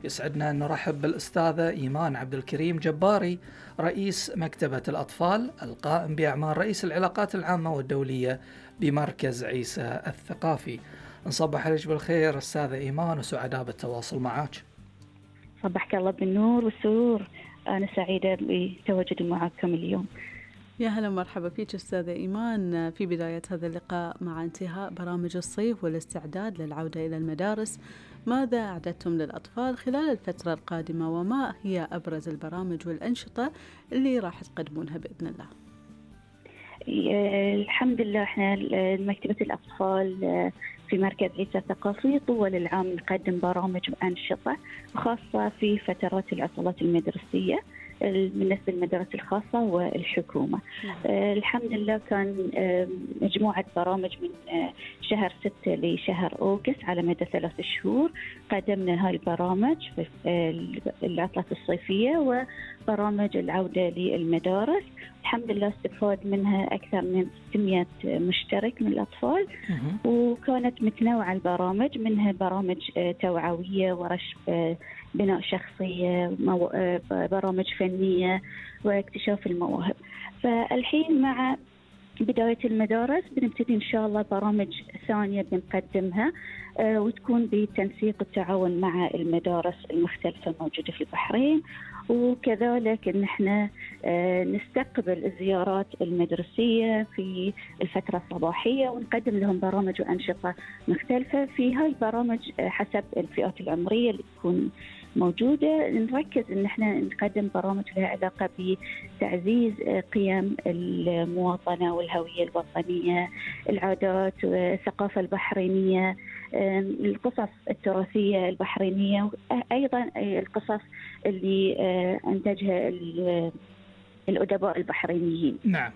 يسعدنا أن نرحب بالأستاذة إيمان عبد الكريم جباري، رئيس مكتبة الأطفال القائم بأعمال رئيس العلاقات العامة والدولية بمركز عيسى الثقافي. نصبح عليك بالخير أستاذة إيمان وسعداء بالتواصل معك. صبحك الله بالنور والسرور، أنا سعيدة بتواجدي معكم اليوم. يا هلا ومرحبا فيك أستاذة إيمان. في بداية هذا اللقاء مع انتهاء برامج الصيف والاستعداد للعودة إلى المدارس، ماذا أعددتم للأطفال خلال الفترة القادمة وما هي أبرز البرامج والأنشطة اللي راح تقدمونها بإذن الله؟ الحمد لله احنا مكتبة الأطفال في مركز عيسى الثقافي طوال العام نقدم برامج وأنشطة خاصة في فترات العطلات المدرسية بالنسبة للمدارس الخاصة والحكومة. الحمد لله كان مجموعة برامج من شهر 6 لشهر أغسطس على مدى 3 شهور قدمنا هاي البرامج في العطلة الصيفية وبرامج العودة للمدارس. الحمد لله استفاد منها أكثر من 600 مشترك من الأطفال، وكانت متنوعة البرامج، منها برامج توعوية ورش بناء شخصية، برامج فنية واكتشاف المواهب. فالحين مع بداية المدارس بنبتدي إن شاء الله برامج ثانية بنقدمها وتكون بتنسيق التعاون مع المدارس المختلفة الموجودة في البحرين، وكذلك إن احنا نستقبل الزيارات المدرسية في الفترة الصباحية ونقدم لهم برامج وأنشطة مختلفة. في هاي البرامج حسب الفئات العمرية اللي تكون موجودة نركز إن احنا نقدم برامج لها علاقة بتعزيز قيم المواطنة والهوية الوطنية، العادات والثقافة البحرينية، القصص التراثية البحرينية، أيضا القصص اللي أنتجها الأدباء البحرينيين. نعم.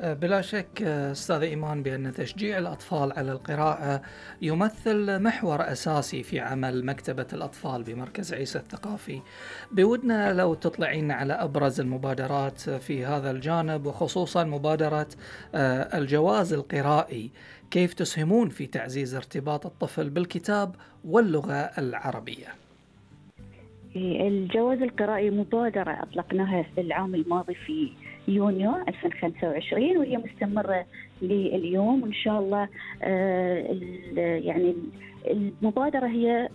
بلا شك أستاذ إيمان بأن تشجيع الأطفال على القراءة يمثل محور أساسي في عمل مكتبة الأطفال بمركز عيسى الثقافي. بودنا لو تطلعين على أبرز المبادرات في هذا الجانب، وخصوصا مبادرة الجواز القرائي، كيف تسهمون في تعزيز ارتباط الطفل بالكتاب واللغة العربية؟ الجواز القرائي مبادرة أطلقناها في العام الماضي في يونيو 2025 وهي مستمرة لليوم، وإن شاء الله يعني المبادرة هي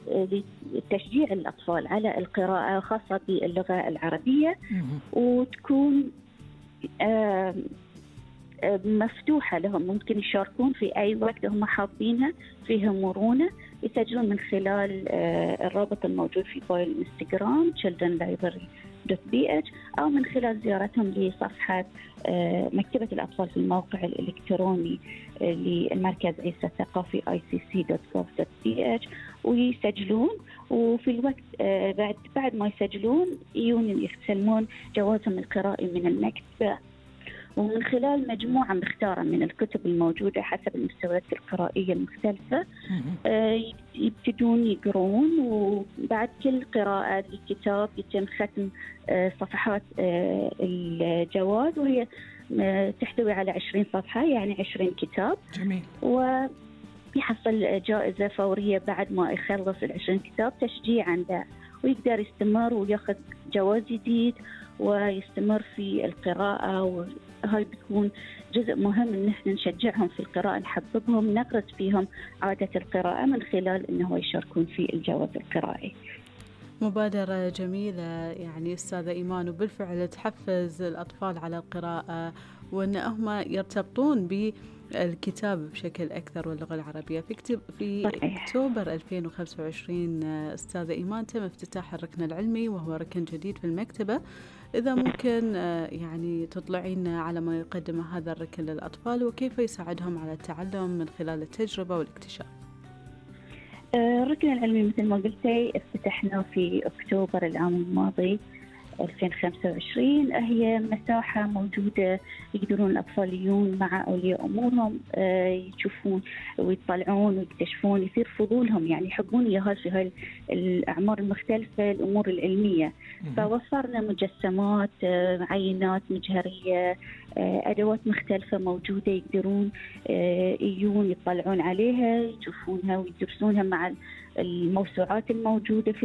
لتشجيع الأطفال على القراءة خاصة باللغة العربية، وتكون مفتوحة لهم، ممكن يشاركون في أي وقت هم حابينها، فيها مرونة، يسجلون من خلال الرابط الموجود في بايو الانستغرام childrenlibrary.bh أو من خلال زيارتهم لصفحة مكتبة الأطفال في الموقع الإلكتروني للمركز عيسى الثقافي icc.gov.bh ويسجلون، وفي الوقت بعد ما يسجلون يستلمون جوازهم القرائي من المكتبة، ومن خلال مجموعة مختارة من الكتب الموجودة حسب المستويات القرائية المختلفة يبتدون يقرون، وبعد كل قراءة لكتاب يتم ختم صفحات الجواز، وهي تحتوي على 20 صفحة يعني 20 كتاب. جميل. ويحصل جائزة فورية بعد ما يخلص 20 كتاب تشجيعا له، ويقدر يستمر ويأخذ جواز جديد ويستمر في القراءة. وهاي بتكون جزء مهم إن احنا نشجعهم في القراءة، نحببهم، نغرس فيهم عادة القراءة من خلال إنه يشاركون في الجواز القرائي. مبادرة جميلة يعني أستاذة إيمان، وبالفعل تحفز الأطفال على القراءة وأن هم يرتبطون بالكتاب بشكل أكثر واللغة العربية. في أكتوبر 2025 أستاذة إيمان تم افتتاح الركن العلمي، وهو ركن جديد في المكتبة. إذا ممكن يعني تطلعين على ما يقدم هذا الركن للأطفال وكيف يساعدهم على التعلم من خلال التجربة والاكتشاف. الركن العلمي مثل ما قلتي افتتحنا في أكتوبر العام الماضي 2025. هي مساحة موجودة يقدرون الأطفال يجون مع أولياء أمورهم يشوفون ويطلعون ويكتشفون، يصير فضولهم يعني يحبون يهال في هاي الأعمار المختلفة الأمور العلمية. فوفرنا مجسمات، عينات مجهرية، أدوات مختلفة موجودة يقدرون يجون يطلعون عليها يشوفونها ويدرسونها مع الموسوعات الموجودة في